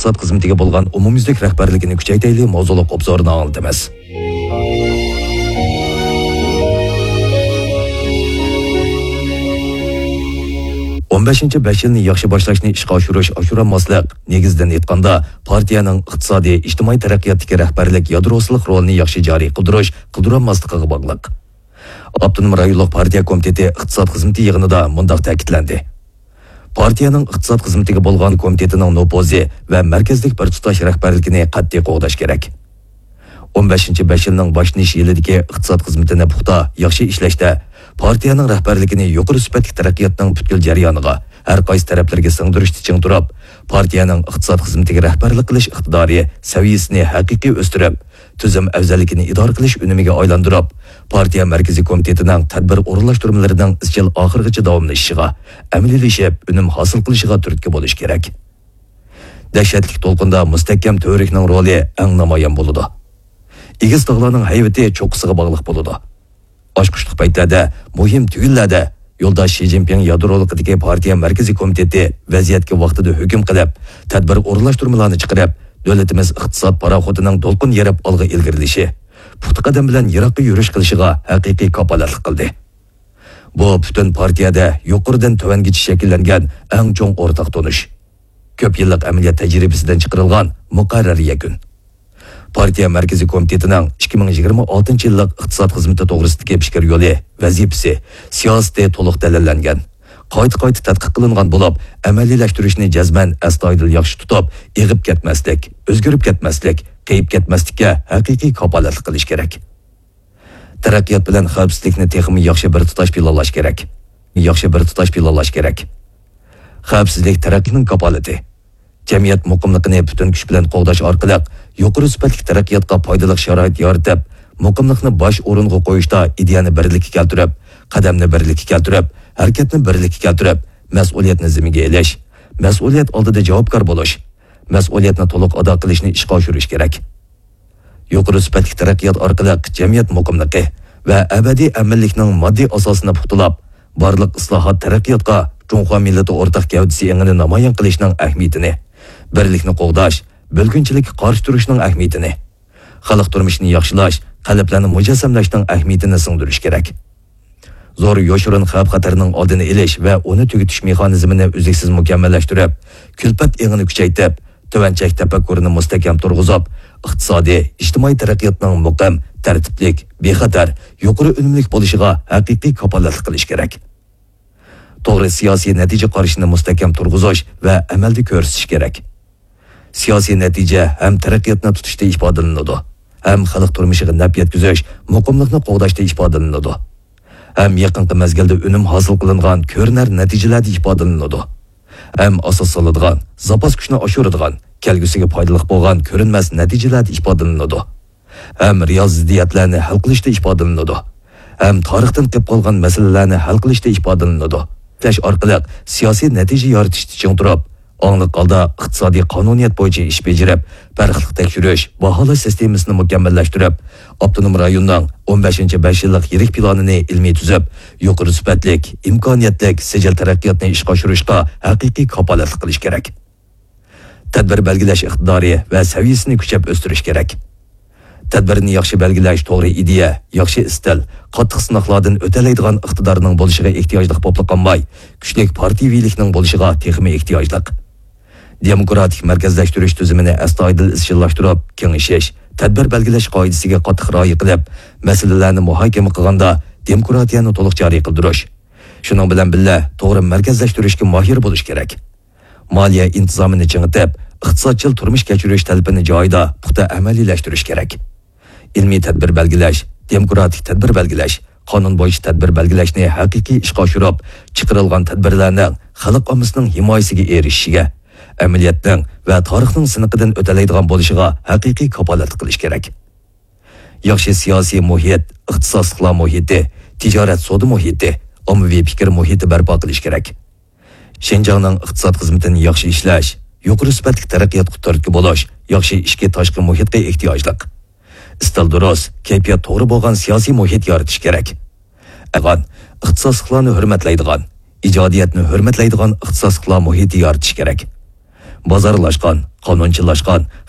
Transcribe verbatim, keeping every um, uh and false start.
ئىقتىساد خىزمىتىگە بولغان ئومۇميۈزلۈك رەھبەرلىكىنى كۈچەيتەيلى ماۋزۇلۇق ئوبزورىنى ئاڭلىتىمىز. ئون بەشىنچى بەش يىلنى ياخشى باشلاشنى ئىشقا ئاشۇرۇش، ئاشۇرالماسلىق، نېگىزىدىن ئېيتقاندا، پارتىيەنىڭ ئىقتىسادىي، ئىجتىمائىي تەرەققىياتتىكى رەھبەرلىك يادروسىلىق رولىنى ياخشى جارى قىلدۇرۇش، قىلدۇرالماسلىقىغا باغلىق. ئاپتونوم رايونلۇق پارتىيە كومىتېتى ئىقتىساد خىزمىتى يىغىنىدا مۇنداق تەكىتلەندى: پارتىيەنىڭ ئىقتىساد خىزمىتىگە بولغان كومىتېتىنىڭ نوپۇزى ۋە مەركەزلىك بىر تۇتاش رەھبەرلىكىنى قەتئىي قوغداش كېرەك. ئون بەشىنچى بەش يىلنىڭ باشلىنىش يىلىدىكى ئىقتىساد خىزمىتىنى پۇختا، ياخشى ئىشلەشتە، پارتىيەنىڭ رەھبەرلىكىنى يۇقىرى سۈپەتلىك تەرەققىياتنىڭ پۈتكۈل جەريانىغا، ھەر قايسى تەرەپلىرىگە سىڭدۈرۈشتە چىڭ تۇرۇپ، پارتىيەنىڭ ئىقتىساد خىزمىتىگە رەھبەرلىك قىلىش ئىقتىدارى سەۋىيەسىنى ھەقىقىي ئۆستۈرۈپ، تۈزۈم ئەۋزەللىكىنى ئىدارە قىلىش ئۈنۈمىگە ئايلاندۇرۇپ، پارتىيە مەركىزىي كومىتېتىنىڭ تەدبىر ئورۇنلاشتۇرمىلىرىنىڭ ئىزچىل ئاخىرغىچە داۋاملىشىشىغا، ئەمەلىيلىشىپ، ئۈنۈم ھاسىل قىلىشىغا تۈرتكە بولۇش كېرەك. دەھشەتلىك دولقۇندا مۇستەھكەم تۈۋرۈكنىڭ رولى ئەڭ نامايان بولىدۇ. ئېگىز تاغلارنىڭ ھەيۋىتى چوققىسىغا باغلىق بولىدۇ. ئاچقۇچلۇق پەيتلەردە، مۇھىم تۈگۈنلەردە يولداش شى جىنپىڭ يادرولۇقىدىكى پارتىيە مەركىزىي كومىتېتى ۋەزىيەتكە ۋاقتىدا ھۆكۈم قىلىپ، تەدبىر ئورۇنلاشتۇرمىلارنى چىقىرىپ، دۆلىتىمىز ئىقتىساد پاراخوتىنىڭ دولقۇن يېرىپ ئالغا ئىلگىرىلىشى، پۇختا قەدەم بىلەن يىراققا يۈرۈش قىلىشىغا ھەقىقىي كاپالەتلىك قىلدى. بۇ پۈتۈن پارتىيەدە يۇقىرىدىن تۆۋەنگىچە شەكىللەنگەن ئەڭ چوڭ ئورتاق تونۇش. كۆپ يىللىق ئەمەلىيەت تەجرىبىسىدىن چىقىرىلغان مۇقەررەر يەكۈن. پارتىيە مەركىزىي كومىتېتىنىڭ ئىككى مىڭ يىگىرمە ئالتىنچى يىللىق ئىقتىساد خىزمىتى توغرىسىدىكى پىكىر يولى، ۋەزىپىسى، سىياسىتى تولۇق دەلىللەنگەن، قايتا-قايتا تەتقىق قىلىنغان بولۇپ، ئەمەلىيلەشتۈرۈشنى جەزمەن ئەستايىدىل ياخشى تۇتۇپ، ئېغىپ كەتمەسلىك، ئۆزگىرىپ كەتمەسلىك، قېيىپ كەتمەسلىككە ھەقىقىي كاپالەتلىك قىلىش كېرەك. تەرەققىيات بىلەن خەۋپسىزلىكنى تېخىمۇ ياخشى بىر تۇتاش پىلانلاش كېرەك. ياخشى بىر تۇتاش پىلانلاش كېرەك. خەۋپسىزلىك تەرەققىينىڭ كاپالىتى. جەمئىيەت مۇقىملىقىنى پۈتۈن كۈچ بىلەن قوغداش ئارقىلىق يۇقىرى سۈپەتلىك تەرەققىياتقا پايدىلىق شارائىت يارىتىپ، مۇقىملىقنى باش ئورۇنغا قويۇشتا ئىدىيەنى بىرلىككە كەلتۈرۈپ، قەدەمنى بىرلىككە كەلتۈرۈپ، ھەرىكەتنى بىرلىككە كەلتۈرۈپ، مەسئۇلىيەتنى زىممىگە ئېلىش، مەسئۇلىيەت ئالدىدا جاۋابكار بولۇش، مەسئۇلىيەتنى تولۇق ئادا قىلىشنى ئىشقا ئاشۇرۇش كېرەك. يۇقىرى سۈپەتلىك تەرەققىيات ئارقىلىق جەمئىيەت مۇقىملىقى ۋە ئەبەدىي ئەمىنلىكنىڭ ماددىي ئاساسىنى پۇختىلاپ، بارلىق ئىسلاھات، تەرەققىياتقا جۇڭخۇا مىللىتى ئورتاق گەۋدىسى ئېڭىنى نامايان قىلىشنىڭ ئەھمىيىتىنى، بىرلىكنى قوغداش، بۆلگۈنچىلىككە قارشى تۇرۇشنىڭ ئەھمىيىتىنى، خەلق تۇرمۇشىنى ياخشىلاش، قەلبلەرنى مۇجەسسەملەشنىڭ ئەھمىيىتىنى سىڭدۈرۈش كېرەك. زور يوشۇرۇن خەۋپ-خەتەرنىڭ ئالدىنى ئېلىش ۋە ئۇنى تۈگىتىش مېخانىزمىنى ئۈزلۈكسىز مۇكەممەللەشتۈرۈپ، كۈلپەت ئېڭىنى كۈچەيتىپ، تۆۋەن چەك تەپەككۇرىنى مۇستەھكەم تۇرغۇزۇپ، ئىقتىسادىي، ئىجتىمائىي تەرەققىياتنىڭ مۇقىم، تەرتىپلىك، بىخەتەر، يۇقىرى ئۈنۈملۈك بولۇشىغا ھەقىقىي كاپالەتلىك قىلىش كېرەك. توغرا سىياسىي نەتىجە قارىشىنى مۇستەھكەم تۇرغۇزۇش ۋە ئەمەلدە كۆرسىتىش كېرەك. سىياسىي نەتىجە ھەم تەرەققىياتنى تۇتۇشتا ئىپادىلىنىدۇ، ھەم خەلق تۇرمۇشىغا نەپ يەتكۈزۈش، مۇقىملىقنى قوغداشتا ئىپادىلىنىدۇ، ھەم يېقىنقى مەزگىلدە ئۈنۈم ھاسىل قىلىنغان كۆرۈنەر نەتىجىلەردە ئىپادىلىنىدۇ، ھەم ئاساس سالىدىغان، زاپاس كۈچنى ئاشۇرىدىغان، كەلگۈسىگە پايدىلىق بولغان كۆرۈنمەس نەتىجىلەردە ئىپادىلىنىدۇ. ھەم رېئال زىددىيەتلەرنى ھەل قىلىشتا ئىپادىلىنىدۇ. ھەم تارىختىن قېلىپ قالغان مەسىلىلەرنى ھەل قىلىشتا ئىپادىلىنىدۇ. ئىشلەش ئارقىلىق سىياسىي نەتىجە يارىتىشتا چىڭ تۇرۇپ، ئاڭلىق ھالدا ئىقتىسادىي قانۇنىيەت بويىچە ئىش بېجىرىپ، بىر خىل تەكشۈرۈش، باھالاش سىستېمىسىنى مۇكەممەللەشتۈرۈپ، ئاپتونوم رايوننىڭ ئون بەشىنچى بەش يىللىق يىرىك پىلانىنى ئىلمىي تۈزۈپ، يۇقىرى سۈپەتلىك، ئىمكانىيەتلىك، سىجىل تەرەققىياتنى ئىشقا ئاشۇرۇشقا ھەقىقىي كاپالەتلىك قىلىش كېرەك. تەدبىر بەلگىلەش ئىقتىدارى ۋە سەۋىيەسىنى كۈچەپ ئۆستۈرۈش كېرەك. تەدبىرنى ياخشى بەلگىلەش، توغرا ئىدىيە، ياخشى ئىستىل، قاتتىق سىناقلاردىن ئۆتەلەيدىغان ئىقتىدارنىڭ بولۇشىغا ئېھتىياجلىق بولۇپلا قالماي، كۈچلۈك پارتىيىۋىلىكنىڭ بولۇشىغا تېخىمۇ ئېھتىياجلىق. دېموكراتىك مەركەزلەشتۈرۈش تۈزۈمىنى ئەستايىدىل ئىزچىللاشتۇرۇپ، كېڭىشىش، تەدبىر بەلگىلەش قائىدىسىگە قاتتىق رىئايە قىلىپ، مەسىلىلەرنى مۇھاكىمە قىلغاندا دېموكراتىيەنى تولۇق جارى قىلدۇرۇش. شۇنىڭ بىلەن بىللە، توغرا مەركەزلەشتۈرۈشكە ماھىر بولۇش كېرەك. مالىيە ئىنتىزامىنى چىڭىتىپ، ئىقتىسادچىل تۇرمۇش كەچۈرۈش تەلىپىنى جايىدا پۇختا ئەمەلىيلەشتۈرۈش كېرەك. ئىلمىي تەدبىر بەلگىلەش، دېموكراتىك تەدبىر بەلگىلەش، قانۇن بويىچە تەدبىر بەلگىلەشنى ھەقىقىي ئىشقا ئاشۇرۇپ، چىقىرىلغان تەدبىرلەرنىڭ خەلق ئاممىسىنىڭ ھىمايىسىگە ئېرىشىشىگە، ئەمەلىيەتنىڭ ۋە تارىخنىڭ سىنىقىدىن ئۆتەلەيدىغان بولۇشىغا ھەقىقىي كاپالەتلىك قىلىش كېرەك. ياخشى سىياسىي مۇھىت، ئىختىساسلىقلار مۇھىتى، تىجارەت سودا مۇھىتى، ئاممىۋى پىكىر مۇھىتى بەرپا قىلىش كېرەك. شىنجاڭنىڭ ئىقتىساد خىزمىتىنى ياخشى ئىشلەش، يۇقىرى سۈپەتلىك تەرەققىياتقا تۈرتكە بولۇش، ياخشى ئىچكى تاشقى مۇھىتقا ئېھتىياجلىق. ئىستىل دۇرۇس، كەيپىيات توغرا بولغان سىياسىي مۇھىت يارىتىش كېرەك. ئەغان، ئىختىساسلىقلارنى ھۆرمەتلەيدىغان، ئىجادىيەتنى ھۆرمەتلەيدىغان ئىختىساسلىقلار مۇھىتى يارىتىش كېرەك. بازارلاشقان، قانۇنچىلاشقان،